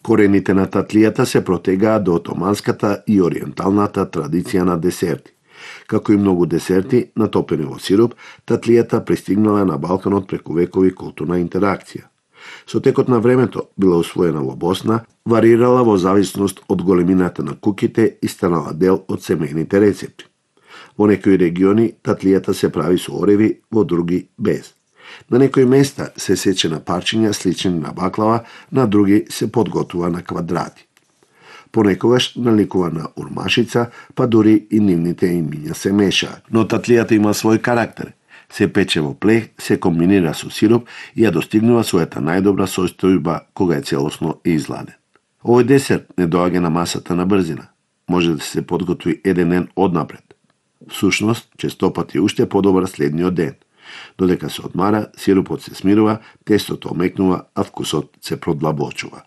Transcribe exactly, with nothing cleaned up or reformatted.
Корените на татлијата се протегаат до отоманската и ориенталната традиција на десерти. Како и многу десерти натопени во сироп, татлијата пристигнала на Балканот преку векови културна интеракција. Со текот на времето била усвоена во Босна, варирала во зависност од големината на куќите и станала дел од семејните рецепти. Во некои региони татлијата се прави со ореви, во други без. На некои места се сече на парчиња слични на баклава, на други се подготвува на квадрати. Понекогаш наликува на урмашица, па дури и нивните имиња се мешаат. Но татлијата има свој карактер. Се пече во плех, се комбинира со сироп и ја достигнува својата најдобра состојба кога е целосно изладен. Овој десерт не доаѓа на масата на брзина. Може да се подготви еден ден однапред. Всушност, честопати уште подобар следниот ден. Додека се одмара, сиропот се смирува, тестото омекнува, а вкусот се продлабочува.